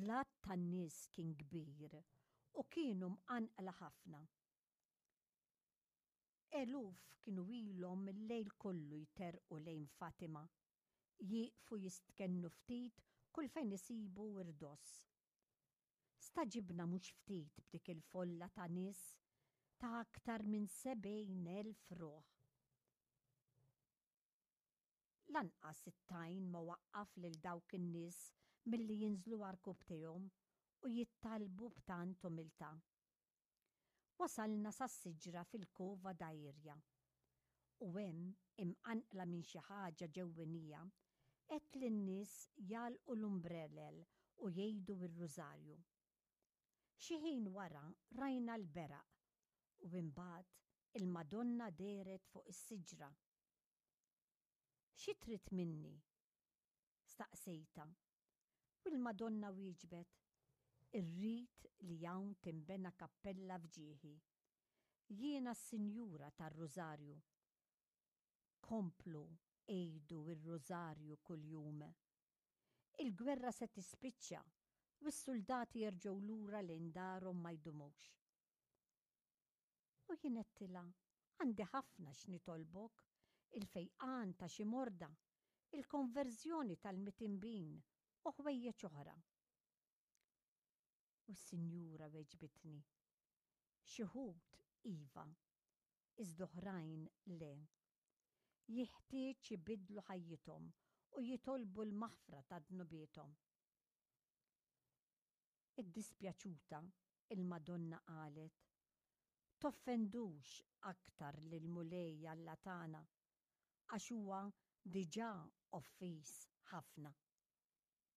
L-għadd tan-nies kien kbir u kienu mqanqla ħafna. Eluf kienu ilhom il-lejl kollu jterrqu lejn Fatima, jieqfu jistkennu ftit kull fejn isibu irdoss. Stagħġibna mhux ftit b'dik il-folla ta' nies ta' aktar minn 70,000 ruħ. Lanqas it-tajn ma waqqaf lil dawk in-nies milli jinżlu għarkupptejhom u jittallbu b'tant umiltà. Wasalna sas-siġra fil-Cova da Iria. U hemm, imqanqla minn xi ħaġa ġewwinija, għedt lin-nies jagħlqu l-umbrelel u jgħidu r-Rużarju. Xi ħin wara rajna l-beraq u imbagħad il-Madonna dehret fuq is-siġra. Xi trid minni? staqsejtha. U l-Madonna wieġbet, Irrid li hawn tinbena kappella f'ġieħi. Jiena s-Sinjura tar-Rużarju. Komplu għidu r-Rużarju kuljum. Il-gwerra se tispiċċa u s-suldati jerġgħu lura lejn darhom ma jdumux. U jien għedtilha, Għandi ħafna x'nitolbok, il-fejqan ta' xi morda, il-konverżjoni tal-mitinbin u ħwejjeġ oħra. U s-Sinjura weġbitni, Xi wħud iva, iżda oħrajn le. Jiħtieġ ibiddlu ħajjithom u jitolbu l-maħfra ta' dnubiethom. Iddispjaċuta, il-Madonna qalet, Toffendux aktar lill-Mulej Alla tagħna, għax huwa diġà offiż ħafna.